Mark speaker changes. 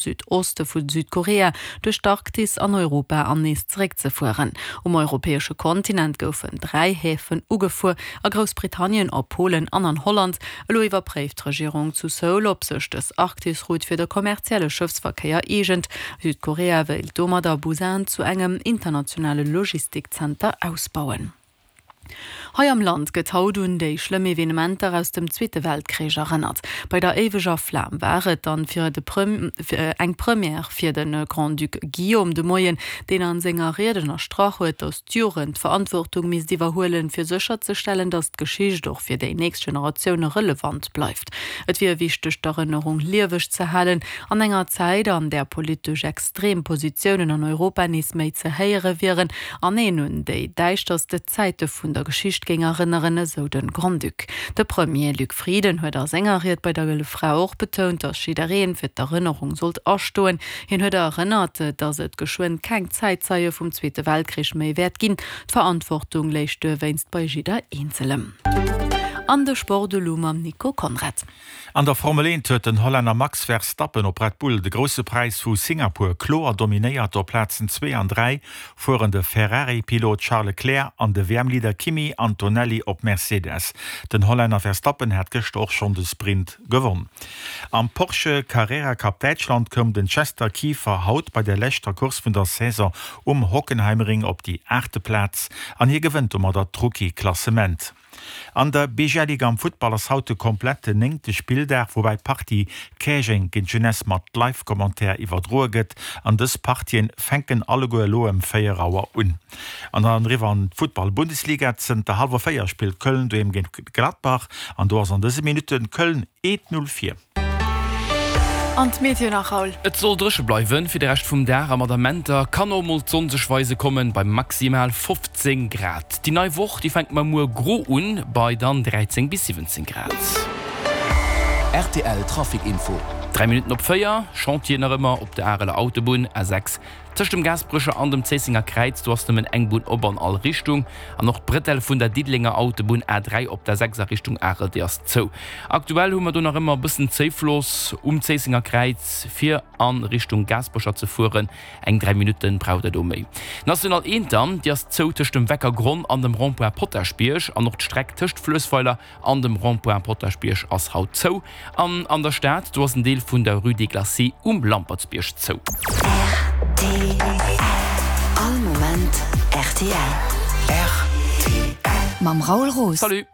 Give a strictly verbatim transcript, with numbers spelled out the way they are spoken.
Speaker 1: Südoste vu Südkorea, duerch d'Arktis an Europa an nees zeréckzefueren. Um europäesche Kontinent goufen dräi Häfen ugefuer, a Groussbritannien, a Polen an an Holland. Elo iwwerpréift d'Regierung zu Seoul, ob sech dës Arktis-Route fir de kommerzielle Schëffsverkéier eegent. Südkorea wéilt domadder Busan zu engem internationale Logistikzenter ausbauen. Hei am Land gëtt haut un déi schlëmm Evenementer aus dem Zweete Weltkrich erënnert. Bei der éiweger Flam war et dann fir de eng Première fir de Grand-Duc Guillaume de Moien, deen an senger Ried ënnerstrach huet, datt d'Jugend d'Verantwortung misst iwwerhuelen, fir sécherzestellen, datt d'Geschicht och fir déi nächst Generatioune relevant bleift. Et wier wichteg, d'Erënnerung lieweg ze halen an enger Zäit, an där politesch extrem Positiounen an Europa nees méi ze héiere wieren an een un déi däischterste Zäite vun der Geschicht géing erënneren, esou de Grand-Duc. De Premier Luc Frieden huet a senger Ried bei der Gëlle Fra och betount, datt jidderee fir d'Erënnerung sollt astoen. Hien huet erënnert, datt et geschwënn keng Zäitzeie vum Zweete Weltkrich méi wäert ginn. D'Verantwortung léich duerwéinst bei jidder Eenzelem. An de Sport elo mam Nico Conrad.
Speaker 2: An der Formel eent huet den Hollänner Max Verstappen op Red Bull de Grousse Präis vu Singapur kloer dominéiert. Op Plazen zwee an dräi fueren de Ferrari-Pilot Charles Leclerc an de W M-Leader Kimi Antonelli op Mercedes. Den Hollänner Verstappen hat gëschter och schonn de Sprint gewonn. Am Porsche Carrera Cup Däitschland koum den Chester Kieffer haut bei der leschter Course vun der Saison um Hockenheimring op déi aachte Plaz an hie gewënnt domadder d'Rookie-Klassement. An der B G L Liga am Futtball ass haut de kompletten néngte Spilldag, woubäi d'Partie Käerjeng géint Jeunesse mat Live-Commentaire iwwerdroe gëtt. An dës Partien fänken alleguer elo ëm véier Auer un. An dann eriwwer an d'Futtball-Bundesliga, Zënter hallwer véier spillt Köln doheem géint Gladbach an do ass an dëse Minutte Köln eent Null vir.
Speaker 1: An d'Meteo nach, Raoul.
Speaker 3: Et soll dréche bleiwen fir de Rescht vum Dag a mat Amenter kann och mol d'Sonn sech weise kommen, bei maximal fofzéng Grad. Déi nei Woch, déi fänkt mar muer gro un, bei dann dräizéng bis siwwenzéng Grad.
Speaker 4: R T L Trafic Info.
Speaker 3: Dräi Minutten op véier, Chantier nach ëmmer op der Areler Autobunn, A sechs, tëscht dem Gaasperecher an dem Zéissenger Kräiz. Do ass nëmmen eng Bunn op an all Richtung. An och d'Bretelle vun der Diddelenger Autobunn, A dräi, op der sechs a Richtung Arel, déi ass zou. Aktuell hu mer do nach ëmmer e bëssen Zéifloss um Zéissenger Kräiz, fir a Richtung Gaasperecher ze fueren. Eng dräi Minutte braucht der do méi. D'National eent dann, déi ass zou tëscht dem Weckergronn an dem Rond-point Potaschbierg. An och d'Streck tëscht Fluessweiler an dem Rond-point Potaschbierg ass haut zou. An an der Stad, do ass en Deel vun der Rue des Glacis um Lampertsbierg zou.
Speaker 5: R T L. All Moment R T L.
Speaker 4: R T L.
Speaker 5: Mam Raoul Roos.
Speaker 3: Salut.